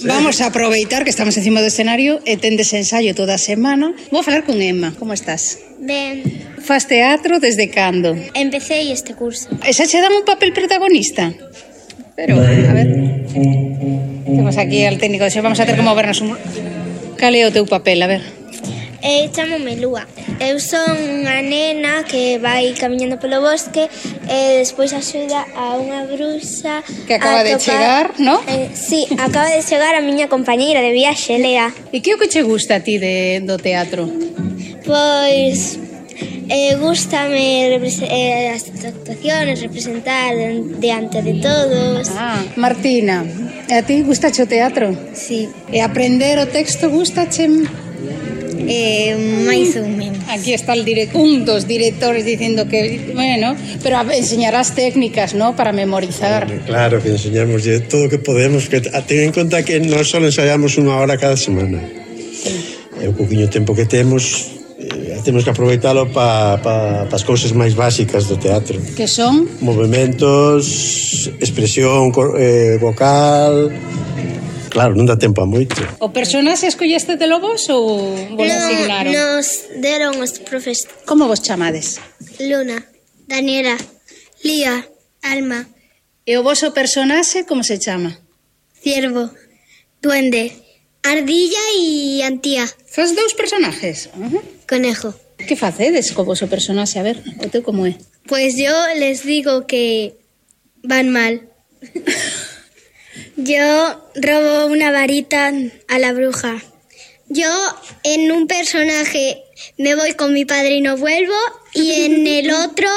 Vamos a aproveitar que estamos encima do escenario e tendes ensaio toda a semana. Vou falar con Emma. Como estás? Ben, Fas teatro desde cando? empecé este curso. E xa che dan un papel protagonista? Pero, a ver... Temos aquí al técnico de xo. Vamos a ter que movernos un... Cal é o teu papel? A ver... Chámome Lúa. Eu son unha nena que vai camiñando polo bosque e despois axuda a unha bruxa Que acaba de chegar, ¿no? Sí, acaba de chegar a miña compañeira de viaxe, Lea. E que é o que che gusta a ti do teatro? Pois gústame as actuaciones, representar diante de todos. Martina, a ti gustache o teatro? Sí, E aprender o texto gustache? máis ou menos. Aquí está un dos directores dicindo que, bueno, pero enseñarás técnicas, ¿no?, para memorizar. Claro, que enseñamos todo o que podemos, que ten en conta que nós só ensaiamos unha hora cada semana. É o pouquinho tempo que temos que aproveitalo para as cousas máis básicas do teatro. Que son? Movementos, expresión vocal... Claro, non dá tempo a moito. O personaxe escolleste de vos ou vos asignaron? Nos deron os profes. Como vos chamades? Luna, Daniela, Lía, Alma, E o voso personaxe como se chama? Ciervo, Duende, Ardilla e Antía. Fas dous personajes? Conejo. Que facedes co voso personaxe? A ver, o teu como é? Pues yo les digo que van mal. Yo robo una varita a la bruja. Yo en un personaje me voy con mi padre y no vuelvo, y en el otro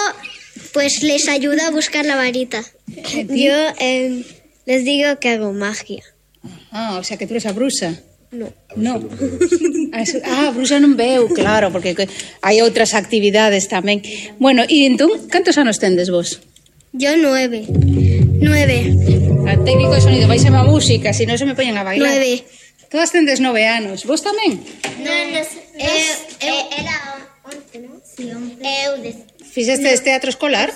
pues les ayudo a buscar la varita. Yo les digo que hago magia. O sea que tú eres a bruxa. No. Bruxa non veu, claro, porque hai outras actividades tamén. Bueno, e entón, cantos anos tendes vos? Yo 9. Al técnico de sonido, vais a música, si non se me poñen a bailar. 9. Todas tendes 9 anos. Vos tamén? Era 11, ¿no? Sí, 11. Fixestes teatro escolar?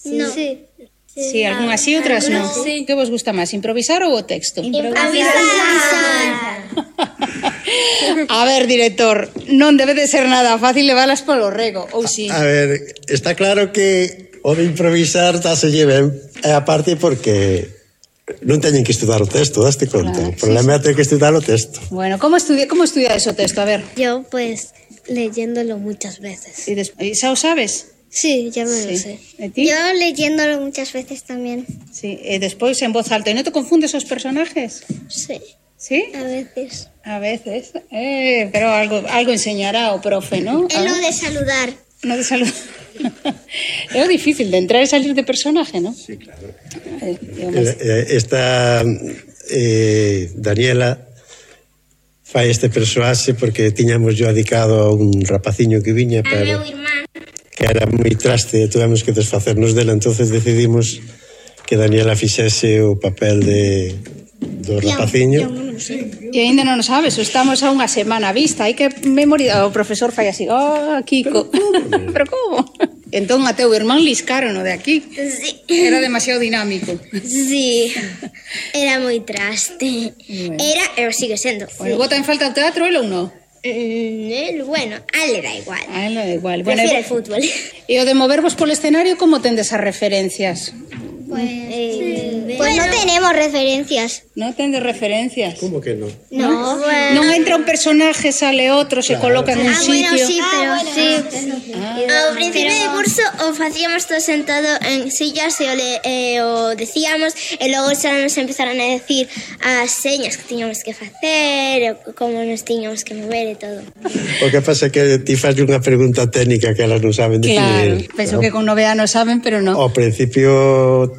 No. Sí. Sí, algunhas sí, outras non. Que vos gusta máis, improvisar ou o texto? Improvisar. A ver, director, non debe de ser nada fácil leválas polo rego, ou si? A ver, está claro que o de improvisar se lleven, e aparte porque non teñen que estudar o texto, daste conta. O problema é ter que estudar o texto. Bueno, como estudiades o texto? A ver. Yo, pues, leyéndolo muchas veces. E xa o sabes? Sí, ya me lo sé. E ti? Yo leyéndolo muchas veces también. Sí, e despois en voz alta. E non te confundes os personajes? Sí. Sí? A veces. A veces. Pero algo enseñará o profe, ¿no? Es lo de saludar. No de saludar. É o difícil de entrar e salir de personaje, ¿no? Sí, claro. Esta Daniela fai este persoaxe porque tiñamos yo adicado a un rapaciño que viña para... que era moi traste e tuvemos que desfacernos dela, entonces decidimos que Daniela fixese o papel do rapaciño. E ainda non o sabes, estamos a unha semana vista, hai que memorizar. O profesor fai así, Kiko. Pero como? Entón a teu irmán liscaron o de aquí. Sí. Era demasiado dinámico. Sí, era moi traste. Era, pero sigue sendo. Bueno, bota en falta o teatro, el ou non? Bueno, a él le da igual. A él le da igual. Prefiere el fútbol. E o de movervos polo escenario, como tendes as referencias? Pues no tenemos referencias. Non tendes referencias? Como que non? No. Non entra un personaje, sale outro, se coloca en un sitio. Bueno, sí, pero sí. Ao principio de curso o facíamos todo sentado en sillas e o decíamos, e logo xa nos empezaron a decir as señas que tiñamos que facer, como nos tiñamos que mover e todo. O que pasa é que ti faz unha pregunta técnica que elas non saben definir. Claro, penso que con 9 anos saben, pero non. Ao principio